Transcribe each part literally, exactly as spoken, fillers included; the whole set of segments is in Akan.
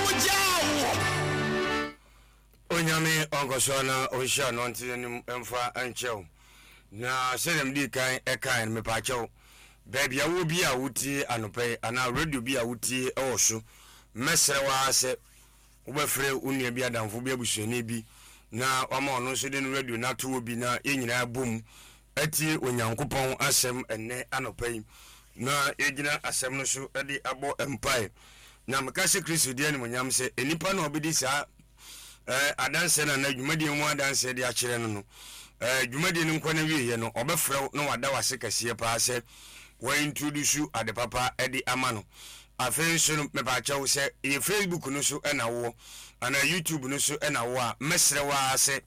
wogyaa wo. Onyame ɔnkɔsoɔ na ɔnhyia no nte anim mfa nkyɛw. Na sɛdeɛ mede kan ɛkan no, mepaakyɛw, baabi a wɔ bi a wotie anɔpa yi anaa radio bi a wotie ɛwɔ so, mɛsrɛ wo ara sɛ wobɛfrɛ wo nua bi, adamfo bi, abusuani bi, na wama ɔno nso de no radio no ato wɔ bi, na yɛn nyinaa bom atie Onyankopɔn asɛm ɛnnɛ anɔpa yi, na yɛgyina asɛm no so de abɔ mpae. Na meka sɛ Kristo di animonyam sɛ nnipa na ɔbɛdi saa eh, adanseɛ no anaa dwumadie mu adanseɛ de akyerɛ no no eh, dwumadie no nkɔ no awieɛ no, ɔbɛfrɛ wo na wada wase kɛseɛ paa sɛ wɔintroduce ade papa de ama no. Afei nso no, mepaakyɛw, sɛ yɛ Facebook no so ɛna wowɔ anaa YouTube no so ɛna wowɔ a, mɛsrɛ wo ara sɛ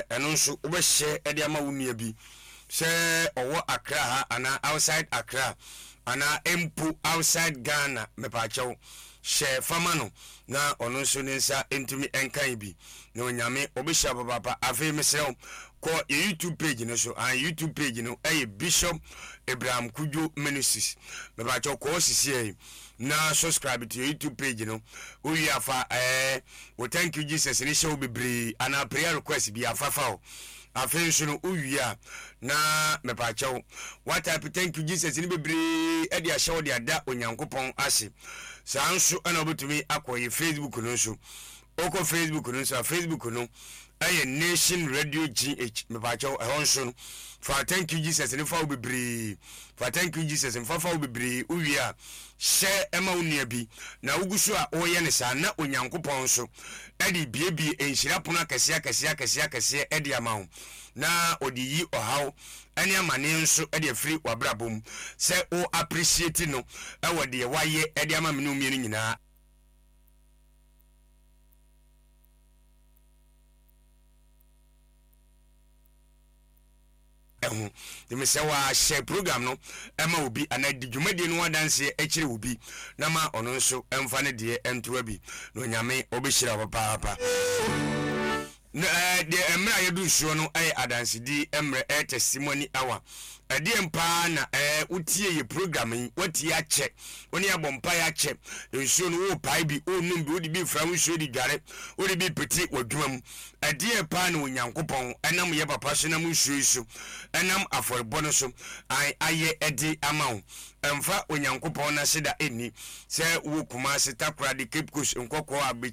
ɛno nso wobɛhyɛ de ama wo nua bi sɛ ɔwɔ Accra ha anaa outside Accra anaa mpo outside Ghana. Mepaakyɛw, hyɛ fama no na ɔno nso ne nsa ntumi nkan bi, na Onyame ɔbɛhyia papaapa. Afei mesrɛ wo, kɔ yɛ YouTube page no so. An YouTube page no ɛyɛ Bishop Abraham Kudwo Ministries. Mepaakyɛw, kɔɔ sisiɛ yi na subscribe to yɛ YouTube page no. Wowie afa ɛɛ wo "Thank you Jesus" ne hyɛ wo bebree anaa prayer request bi afafa o. Afei nso no, wowie a, na mepaakyɛw, watype "Thank you Jesus" ne bebree ɛde ahyɛ wo de ada Onyankopɔn ase. Saa nso ɛna wobɛtumi akɔ yɛ Facebook no nso. Wokɔ Facebook no nso a, Facebook no ɛyɛ Nation Radio G H. Mepaakyɛw, ɛhɔ nso no, fa "Thank you Jesus" ne fa wo bebree, fa "Thank you Jesus" mfa fa wo bebree. Wowie a, hyɛ ɛma wo nua bi, na wogu so a wɔreyɛ no saa na Onyankopɔn nso ɛde biebie nhyira pono akɛseɛ akɛseɛ akɛseɛ akɛseɛ ɛde ama wo, na ɔde yi ɔhaw ɛne amanneɛ nso ɛde afiri w'abrabɔ mu sɛ wo appreciate no ɛwɔ deɛ wayɛ ɛde ama me ne wo mmienu nyinaa ɛho. Nti sɛ wahyɛ program no ɛma obi anaa di dwumadie no ho adanseɛ akyerɛ obi, na ma ɔno nso ɛmfa ne deɛ ɛntoa bi, na Onyame ɔbɛhyira wo papaapa. Na ɛɛ deɛ mmerɛ a yɛdu nsuo no ɛyɛ adansedi mmerɛ, ɛyɛ testimony hour. Ɛdeɛ mpaa na ɛɛ wotie yɛ program yi, watie akyɛ, wo ne abɔ mpaeɛ akyɛ. Nsuo no, wopae bi, wonum bi, wode bi fra wo nsuo de dware, wode bi pete w'adwuma mu. Ɛdeɛ paa na Onyankopɔn ɛnam yɛ papa so, nam nsuo yi so, ɛnam afɔrebɔ no so ayɛ ɛde ama wo? Ɛmfa Onyankopɔn n'ase da ɛnni sɛ wowɔ Kumase, Takoradi, Cape Coast, Nkɔkɔɔ, Abekyɛ mu.